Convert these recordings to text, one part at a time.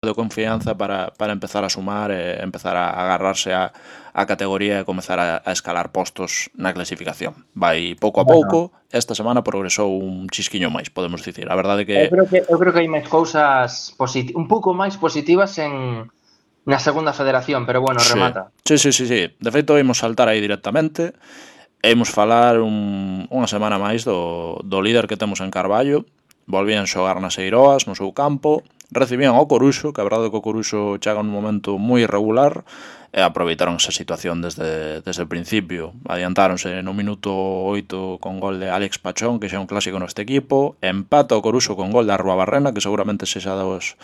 de confianza para empezar a sumar e empezar a agarrarse a categoría e comezar a escalar postos na clasificación. Vai pouco a Bueno, pouco, esta semana progresou un chisquiño máis, podemos dicir. A verdade que eu creo que hai máis cousas un pouco máis positivas na segunda federación, pero bueno, sí. remata. Sí. De feito, imos saltar aí directamente e imos falar unha semana máis do líder que temos en Carballo. Volvían xogar nas Eiroas, no seu campo, recibían ao Coruxo, que a verdade é que o Coruxo chega nun momento moi irregular, e aproveitaron esa situación desde o principio. Adiantáronse no minuto 8 con gol de Alex Pachón, que xa é un clásico neste equipo, empata o Coruxo con gol de Arruabarrena, que seguramente sexa dos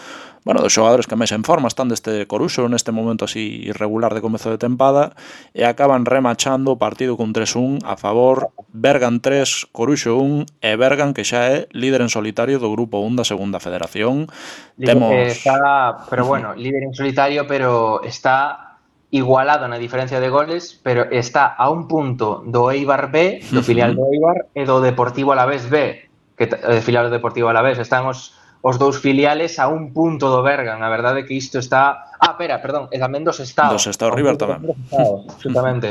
xogadores que máis en forma están deste Coruxo neste momento así irregular de comezo de tempada, e acaban remachando o partido con 3-1 a favor, Bergan 3, Coruxo 1, e Bergan, que xa é líder en solitario do grupo 1 da segunda federación. Temos... Pero bueno, líder en solitario, pero está igualado na diferencia de goles, pero está a un punto do Eibar B, do filial do Eibar, e do Deportivo Alavés B, que filial do Deportivo Alavés. Están os dous filiales a un punto do Bergan. A verdade é que isto está... perdón, e tamén do Dos Sestao. Estados A un River punto tamén. do Sestao, absolutamente.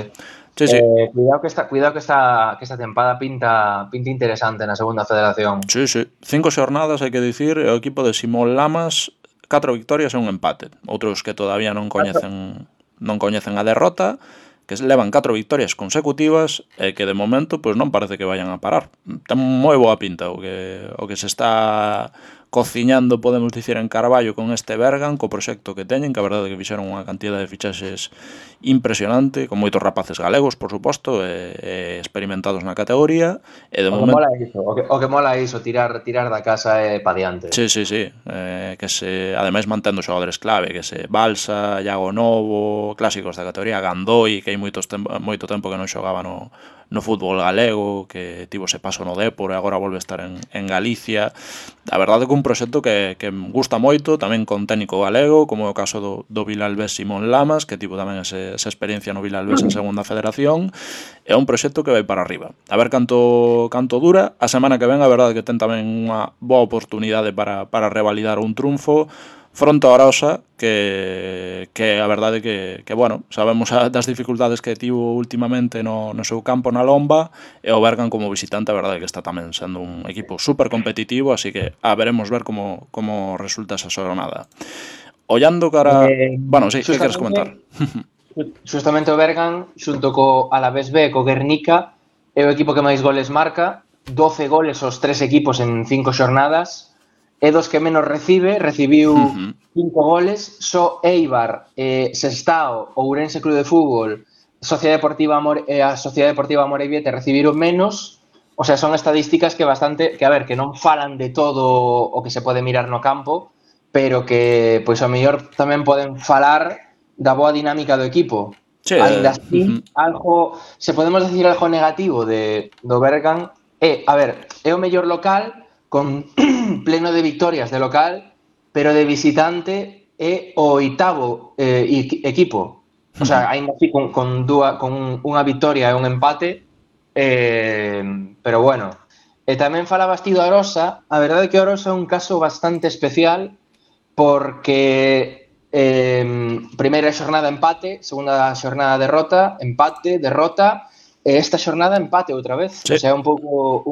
Sí. Cuidado que esta tempada pinta interesante na segunda federación. Sí. 5 xornadas, hai que dicir, e o equipo de Simón Lamas 4 victorias e un empate. Outros que todavía non coñecen a derrota, que levan 4 victorias consecutivas e que de momento pois non parece que vayan a parar. Ten moi boa pinta o que se está cociñando, podemos dicir, en Carballo con este Bergan, co proxecto que teñen, que a verdade é que fixeron unha cantidad de fichaxes impresionante, con moitos rapaces galegos, por suposto, e experimentados na categoría, e de momento... O que mola é iso, tirar da casa e pa diante. Sí. Que se, ademais, mantendo xogadores clave, que se Balsa, Iago Novo, clásicos da categoría, Gandoi, que hai moito tempo que non xogaba no fútbol galego, que tivo ese paso no Dépor e agora volve a estar en Galicia. A verdade é que un proxecto que gusta moito, tamén con técnico galego, como é o caso do Vilalbés Simón Lamas, que tivo tamén esa experiencia no Vilalbés en segunda federación. É un proxecto que vai para arriba. A ver canto dura. A semana que ven, a verdade é que ten tamén unha boa oportunidade para revalidar un triunfo fronte ao Arosa, que a verdade é que bueno, sabemos das dificultades que tivo últimamente no seu campo na Lomba, e o Bergan como visitante, a verdade é que está tamén sendo un equipo super competitivo, así que veremos ver como resulta esa xornada. Ollando cara... Bueno, sí, que queres comentar? Justamente o Bergan, xunto co Alavés B, co Guernica, é o equipo que máis goles marca, 12 goles aos 3 equipos en 5 xornadas, é dos que menos recibiu 5 goles, só Eibar, Sestao, Ourense Club de Fútbol, a Sociedade Deportiva Amorebieta recibiron menos. O sea, son estadísticas que non falan de todo o que se pode mirar no campo, pero que, pois, ao mellor tamén poden falar da boa dinámica do equipo. Sí, Ainda así, se podemos decir algo negativo do Bergan, é o mellor local, con pleno de victorias de local, pero de visitante é o 8º equipo. O sea, ainda así con unha victoria e un empate, pero bueno. E tamén falabas ti do Arosa. A verdade é que o Arosa é un caso bastante especial, porque primeira xornada empate, segunda xornada derrota, empate, derrota, e esta xornada empate outra vez. Sí. O sea, é un pouco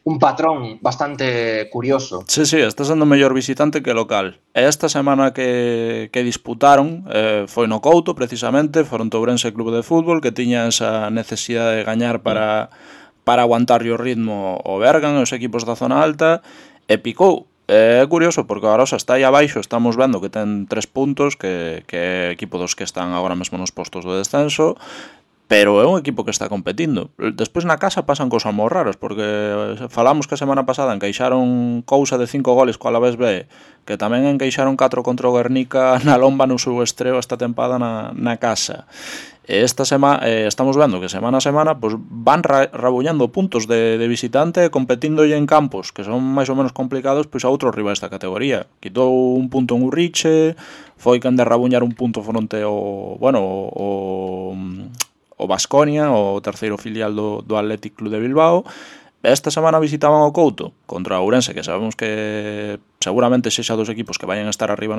un patrón bastante curioso. Sí, está sendo mellor visitante que local. E esta semana que disputaron foi no Couto, precisamente, fronte ao Ourense Club de Fútbol, que tiña esa necesidade de gañar para aguantarlle o ritmo o Bergan e os equipos da zona alta, e picou. É curioso, porque a Arosa está aí abaixo, estamos vendo que ten 3 puntos, que é equipo dos que están agora mesmo nos postos do descenso, pero é un equipo que está competindo. Despois na casa pasan cousas moi raras, porque falamos que a semana pasada encaixaron cousa de 5 goles co Alavés B, que tamén encaixaron 4 contra o Guernica na Lomba no seu estreo esta tempada na casa. E esta semana estamos vendo que semana a semana pues, van rabuñando puntos de visitante, competindo en campos que son máis ou menos complicados pois a outros rivais da categoría. Quitou un punto en Urriche, foi quen de rabuñar un punto fronte o Baskonia, o terceiro filial do Athletic Club de Bilbao. Esta semana visitaban o Couto contra o Ourense, que sabemos que seguramente sexa dos equipos que vayan a estar arriba